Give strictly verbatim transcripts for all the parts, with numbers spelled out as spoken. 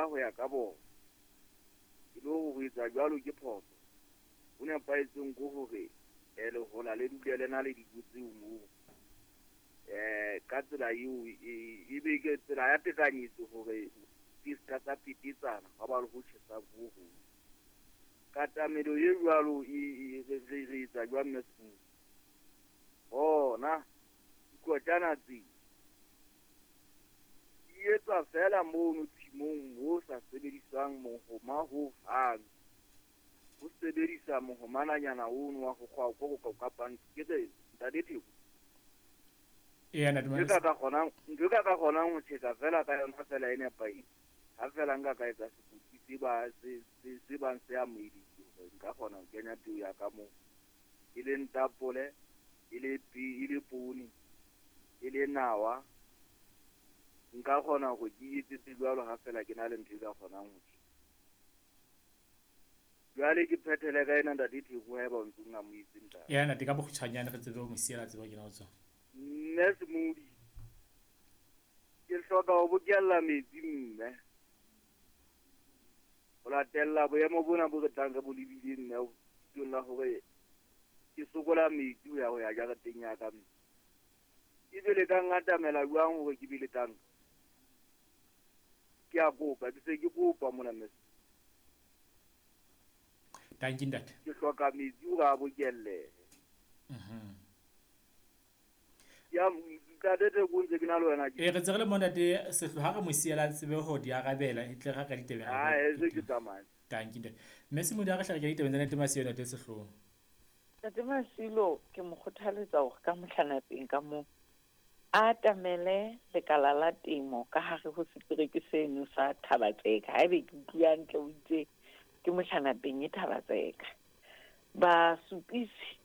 ho ya ka bona. E le hore ho etsa jwalo ke phoso. Ho nepahetseng ke hore eh, lehola le dule le na le dijo tseo moo. Eh, ka tsela eo e e be ke tsela ya tekanyetso hore di ska tsa petetsana hwa ba le ho tjhesang ho hong. Katamelo e jwalo e e re re re etsa jwang Mme Semodi? Hona dikotjana tse di etswa feela mono tshimong ho sa sebediswang mohoma ho hang. Ho sebedisa mohomananyana ono wa ho kgwa ko ko kapang ke re ntate Theko. Eya ntate Ntho e ka ka kgonang ntho e ka ka kgonang ho tjheka feela ka yona feela e nepahetse. Ha feela nka ka etsa sekoti se ba se se se bang se amohelehile hore nka kgona ho kenya peo ya ka moo. E leng tapole, e le pe e le poone, e le nawa. Nka kgona hore ke etsetse jwalo ha feela ke na le ntho e ka kgonang ho tjheka. Jwale ke phethele ka ena ntate Theko haeba o ntso nkamohetse ntate. Eya ntate ka bokgutshwanyane re tsebe ho mo siela tsebe ho kena ho tsona. Mme Semodi, ke hloka ho bokella metsi mme. Ho latella boemo bona bo re tlang re bo lebile mme thutong la hore ke sokola metsi ho ya ho ya jareteng ya ka mme. Ebe le ka ngatamela jwang hore ke be le tanka? Ke a kopa, ke se ke kopa mona mme. Tanki ntate. Ke hloka metsi hore a bokellehe. Mhm. Ya ntate Theko ntse ke na le wena ke. E re ntse re le mo ntate Sehlo ha re mo siela tsebe ho di arabela e tle ra ka ditabeng. Ah, e se ke tsamaya. Tanki ntate. Mme Semodi ha re hlare ke ditabeng tsa ntate Masilo ntate Sehlo. Ntate Masilo ke mo kgothaletsa hore ka mohlanapeng ka moo a atamele lekala la temo ka hare ho setereke seno sa Thabatseka. Haebe ke utlwe hantle o itse ke mohlanapeng e Thabatseka. Basupisi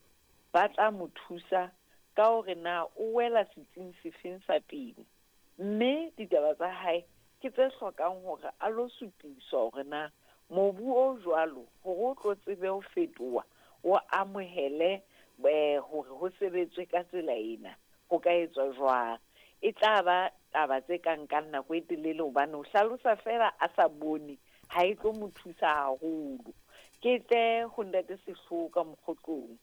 ba tla mo thusa ka hore na o wela setsing sefeng sa temo, mme ditaba tsa hae ke tse hlokang hore a lo supiswa hore na mobu o jwalo hore o tlo tsebe ho fetoha o amohele eh, hore ho sebetswe ka tsela ena ho ka etswa jwang. E tla ba taba tse ka nkang nako e telele hobane o hlalosa feela a sa bone ha e tlo mo thusa haholo. Ke tle ho ntate Sehloho ka mokgotlong.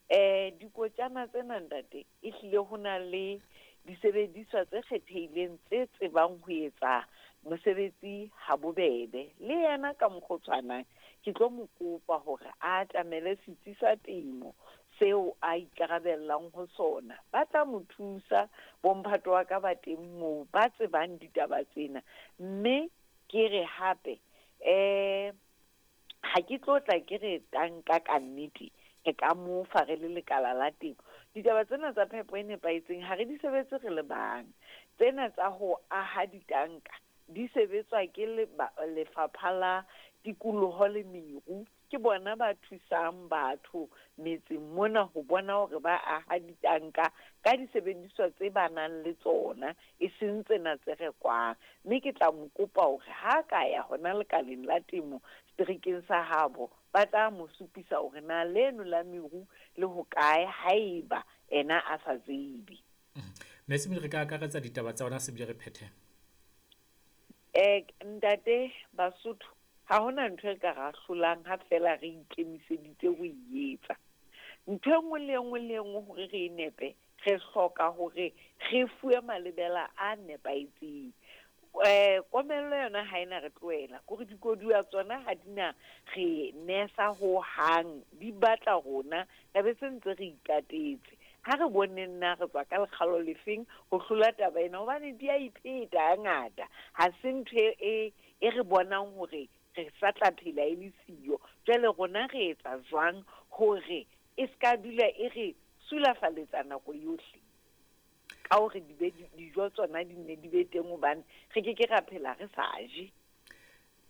Eh dikotjana tsena ntate e hlile ho na le disebediswa tse kgethehileng tse tsebang ho etsa mosebetsi ha bobebe. Le yena ka mokgwa o tshwanang ke tlo mo kopa hore a atamele setsi sa temo seo a ikarabellang ho sona. Ba tla mo thusa bomphato wa ka ba teng moo ba tsebang ditaba tsena. Mme ke re hape eh ha ke tlo tla ke re tanka ka nnete re ka mo fa re le lekala la temo. Ditaba tsena tsa phepo e nepahetseng ha re di sebetse re le bang. Tsena tsa ho aha ditanka di sebetswa ke lefapha la tikoloho le meru. Ke bona ba thusang batho metseng mona ho bona hore ba aha ditanka ka disebediswa tse ba nang le tsona, e seng tsena tse rekwang. Mme ke tla mo kopa hore ha ka ya hona lekaleng la temo seterekeng sa habo, ba tla mo supisa hore na leno la meru le hokae haeba ena a sa tsebe. Mme Semodi re ka akaretsa ditaba tsa rona se bile re phethe. Eh ntate Basotho, ha hona ntho e ka ra hlolang ha fela re ikemiseditse ho e etsa. Ntho e nngwe le e nngwe le e nngwe hore re e nepe, re hloka hore re fuwe malebela a nepahetseng. Eh komello yona ha ena re tlohela, kore dikoduwa tsona ha di na re nesa ho hang, di batla rona re be se ntse re ikatetse. Ha re boneng na re tswa ka lekgalo lefeng ho hlola taba ena, hobane di a ipheta hangata. Ha se ntho e e re bonang hore re sa tla phela e le siyo. Jwale rona re etsa jwang hore e ska dula e re sulafaletsa nako yohle? Ka hore di be dijo tsona di nne di be teng hobane re ke ke ra phela re sa je.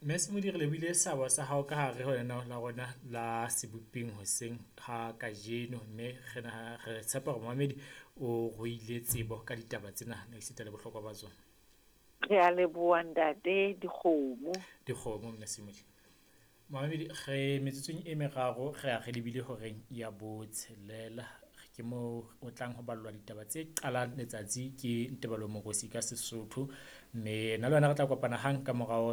Mme Semodi re lebohile seabo sa hao ka hare ho lenaneo la rona la Sebopeng hoseng ha kajeno, mme re na re tshepa hore momamedi o ruile tsebo ka ditaba tsena esita le bohlokwa ba tsona. Re a leboha ntate dikgomo. Dikgomo Mme Semodi. Momamedi re metsotsong e meraro re a re lebile horeng ya botshelela. Ke moo o tlang ho ballwa ditaba tse qalang letsatsi ke Ntebalo Morosi ka Sesotho, mme nna le wena re tla kopana hang ka mora hore